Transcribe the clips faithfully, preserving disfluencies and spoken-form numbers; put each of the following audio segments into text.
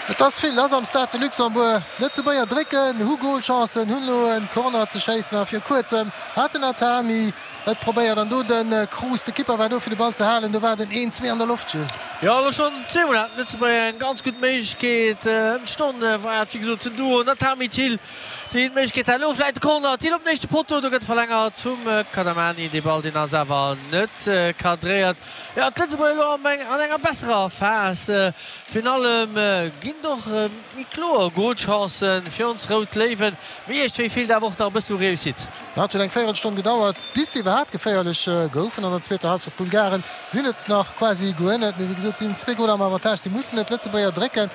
Et ass vill lass am Stade de Luxembourg. D'Lëtzebuerger drécken, hu Golchancen, hunn elo e Corner ze schéissen a vir kuerzem hat den Atami et probéiert an do de Cruz, de Kipper war do fir de Ball ze halen. Do war den een, zwee an der Loft, Gilles. Jo, elo schonn zweemol haten d'Lëtzebuerger eng ganz gutt Méiglechkeet. Ëm d'Stonn war et wéi gesot den Duo Natami-Thill, deen d'Méiglechkeet hat. Elo vläit de Corner, Thill op den éischte Potto, do gëtt verlängert vum Kadamani. Dee Ball, deen ass awer net cadréiert. Jo, d'Lëtzebuerger elo an enger besserer Phas. Virun allem ginn et och méi kloer Golchancen fir ons Rout Léiwen, mee iergendwéi feelt awer och nach e bëssen u Réussite. Jo, et huet eng Véierelstonn gedauert, bis se iwwerhaapt geféierlech goufen an der zweeter Halbzeit. D'Bulgaren sinn et nach quasi guer net, mee wéi gesot, si sinn zwee Goler am Avantage. Si mussen et d'Lëtzebuerger drécken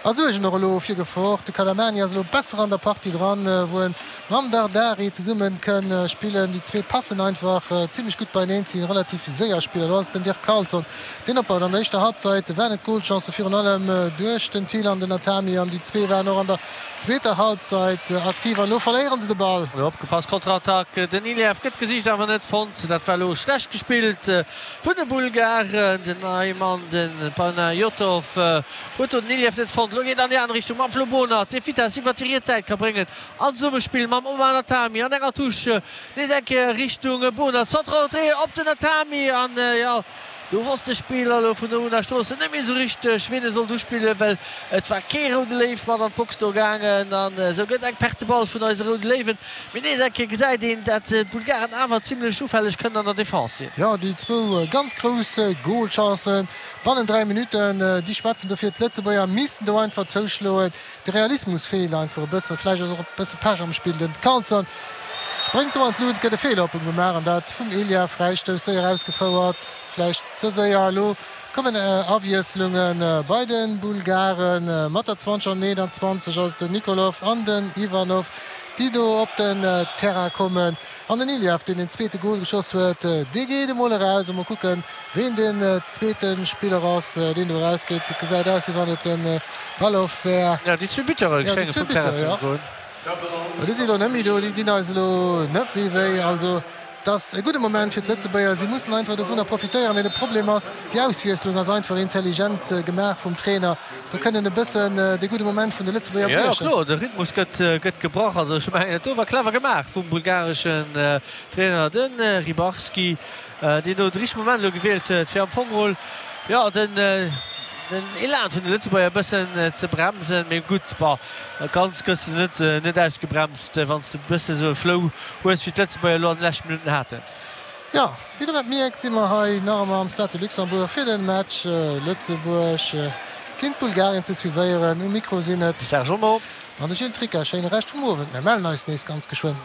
a suergen och elo fir Gefor. De Kadamani ass elo besser an der Partie dran, wou en mam Dardari zesumme kënn spillen. Déi zwee passen einfach zimlech gutt beieneen, si relativ séier Spiller. Elo ass et den Dirk Carlson, deen opbaut. An der éischter Halbzeit waren et Golchancen, virun allem duerch den Thill an den Atami, an déi zwee waren och an der zweeter Halbzeit aktiv. An elo verléiere se de Ball. Elo opgepasst, Konterattack, den Iliev gëtt gesicht, awer net fonnt. Dat war elo schlecht gespillt vun de Bulgaren. Den Neimann, de Panayotov huet do den Iliev net fonnt. Elo geet et an déi aner Richtung mam Flo Bohnert, dee Vitess iwwert déi riets Säit ka bréngen. An Zesummespill mam Omar Natami an enger Touche nees eng Kéier Richtung Bohnert. Centre en retrait op den Natami an jo, do wosst de Spiller elo vun der Una Stroossen net méi esou richteg, wien e sollt uspillen, well et war kee Roude Léiw mat an d'Box do gaangen. An esou gëtt eng Perte de balle vun eise Roude Léiwen. Mee nees eng Kéier gesäit een, dat d'Bulgaren awer zimlech ufälleg kënnen an der Defense sinn. Jo, déi zwou ganz grouss Golchancen bannen dräi Minutten, déi schwätzen dofir. D'Lëtzebuerger missten do einfach zouschloen. De Realismus feelt einfach e bëssen. Vläicht ass och e bësse Pech am Spill. Den Karlsson spréngt do an d'Lut, et gëtt e Feeler op em gemaach an dat vum Elia. Fräistouss séier ausgefouert, vläicht ze séier. Elo kommen Awiesslunge bei de Bulgaren. Mat der zwanzeg an eenanzwanzeg ass et den Nikolov an den Ivanov, déi do op den Terrain kommen. An den Iliev, deen den zweete Gol geschoss huet, dee geet emol eraus. A mol kucken, ween den zweete Spiller ass, deen do erausgeet. Et gesäit aus, wéi wann et de Balov wär. Jo, déi zwee Buteure schénge vum Terrain ze goen. Déi si elo net méi do, déi dinn eis elo net méi wéi. Also et ass e gudde Moment fir d'Lëtzebuerger. Si mussen einfach dovunner profitéieren. Mee de Problem ass, déi Auswiesslung ass einfach intelligent gemaach vum Trainer. Do kënnt en e bëssen de gudde Moment vun de Lëtzebuerger Jo, briechen. kloer, de Rhythmus gëtt gëtt gebrach. Also ech mengen, dat do war clever gemaach vum bulgareschen Trainer, de Ribarski, deen do de richtege Moment elo gewielt huet, fir am Fong geholl, jo, den den Elan vun de Lëtzebuerger e bëssen ze bremsen. Mee gutt, bon, ganz gëss de net net ausgebremst, wann s de e bësse sou e Flow hues, wéi d'Lëtzebuerger elo an de leschte Minutten haten. Jo, wéi der et mierkt, si mer hei nach ëmmer am Stade de Luxembourg fir de Match Lëtzebuerg géint Bulgarien ze suivéieren. Um Mikro sinn et. De Serge Homo. An de Gilles Tricca. Schéine Rescht vum Owend. Mir mellen eis nees ganz geschwënn.